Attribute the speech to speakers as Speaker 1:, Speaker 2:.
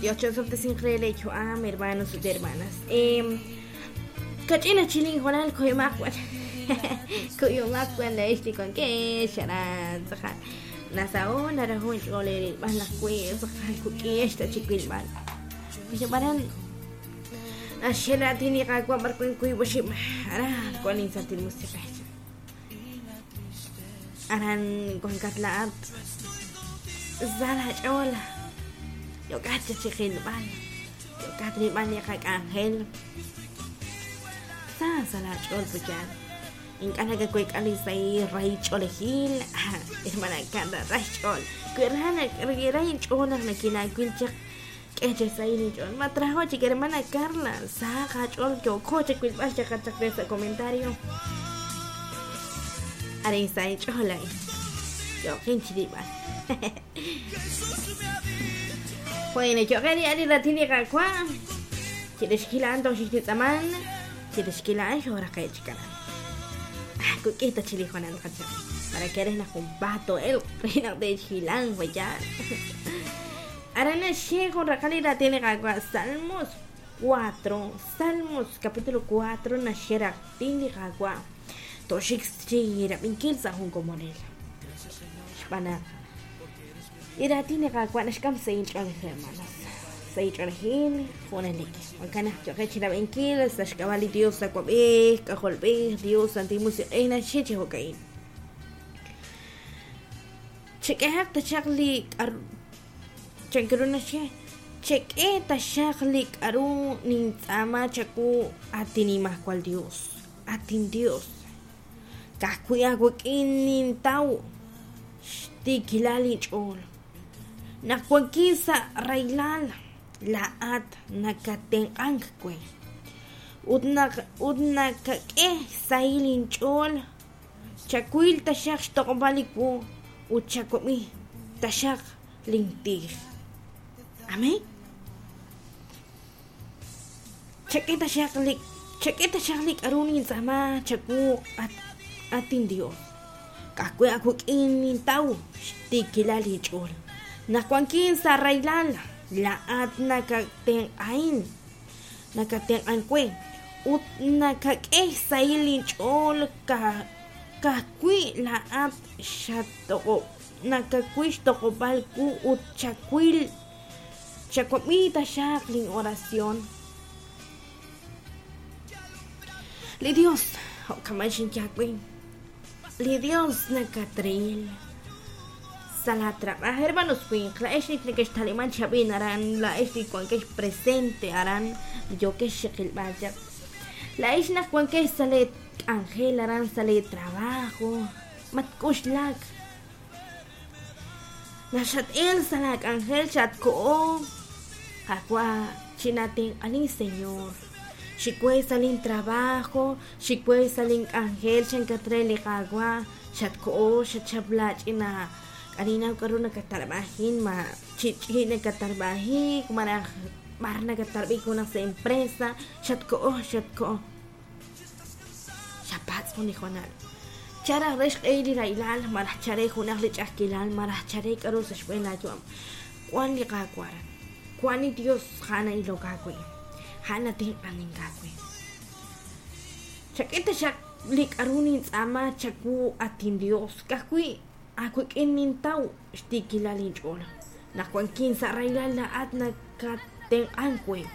Speaker 1: Dios chi'osob'tesinq re lee yu'am, hermanos ut hermanas. Kach'in achil inhoonal kuyumaq wan. Kuyumaq wan laa'ex li wankex aran tz'aqal. Nasaho' naraho' inch'ool eerilb'al naq wi tz'aqal kuk'ihex ta chiwilb'al. Xeb'aran naxye raatin li Qaawa' b'ar wan wiib' oxib' aran wan Linsantil Musiq'ej. Aran wankat laa'at sa laach'ool yookat chaq chi qilb'al, yookat rilb'al li qak'anjel. Sa sa laach'ool puyal. Ink'a' nakaweek'a li sahil rahil ch'oolejil, hermana Carla, ra xch'ool. Wi ra wi ra inch'ool naq nakinaawil chaq, k'e chi sahil inch'ool. Matraho' chik, hermana Carla, sahaq aach'ool yooko chawilb'al chaqat chaq re sa' comentario. Arin sa inch'ool a'in. Yooqin chirilb'al. Bueno, yo'qe li ani raatin li Qaawa'. Chirix kilaan toj xixtitz'aman. Chirix kilaan xooraqe' chik aran. Ah, kuk'ij ta chi li hoonal qachaq. Para que eres naq junpaat too'elq re naq te'xhilanq yaal. Aran naxye jun raqal li raatin li Qaawa' Salmos 4, Salmos capítulo 4 naxye raatin li Qaawa' tooxik chi rab'inkil sa' jun komonil. Xb'aan naq Li raatin li Qaawa' naxk'am sahil ch'oolej, hermanos. Sahil ch'oolejil, junelik. Jo'kan naq yo'qeb' chirab'inkil sa' xk'ab'a' li Dios Awab'ej, K'ajolb'ej, Dios Santil Musiq'ej naxye chi jo'ka'in. Chek'ehaq taxaq li k'aru chank ru naxye, chek'e taxaq li k'aru nintz'aama chawu, at inNimajwal Yos, at inYos. Ka'ajwi' aawik'in nintaw xtiikilal inch'ool. Naq wankin sa' rahilal, laa'at nakattenq'ank we. Ut naq ut nakak'e xsahil inch'ool, chawil taxaq xtoq'ob'al li wu ut chawab'i taxaq lintij. Amén. Chak'e taxaq li chak'e taxaq li k'aru nintz'aama chawu, at at inYos. Ka'ajwi' aawik'in nintaw xtiikilal inch'ool. Naq wankin sa' rahilal, laa'at nakatenq'ahin, nakatenq'ank we, ut nakak'e xsahil linch'ool ka'ajwi' laa'at xattoq'ob' nakawil xtoq'ob'al wu ut chawil Chawab'i taxaq lin oración. Li Dios, jo'kan xinye aawe, li Dios nakatril sa' laa trab'aaj. Hermanos winq, laa'ex li nekextaliman chi ab'in aran, laa'ex li wankex presente aran, li yookex chiqilb'al chaq. Laa'ex naq wankex sa' lee k'anjel aran, sa' lee trabajo, matk'oxlak. Naq xat-el sa' laak'anjel xatkoho, Qaawa', chinatenq'ani, Señor. Xik we sa' lintrabajo, xik we sa' link'anjel, chankat re li Qaawa', xatkoho, xachap laach'ina k'aninaw k'aru nakattarb'ajin, ma chi ch'i nakattarb'ajik, malaj b'ar nakattarb'ik junaq sa' empresa, xatkoho, xatkoho. Xapatz' jun li hoonal. Cha raj re xq'ehil li rahilal, malaj cha re junaq li ch'a'ajkilal, malaj cha re k'a'ru sa' xb'een laa yu'am. Wan li Qaawa' aran. Wan li Dios a'an na'ilok aawe. A'an natenq'anink aawe. Chak'e taxaq li k'a'ru nintz'aama chawu, at inDios, ka'ajwi' aawik'in nintaw xtiikilal inch'ool. Naq wankin sa' rahilal laa'at nakatenq'ank we.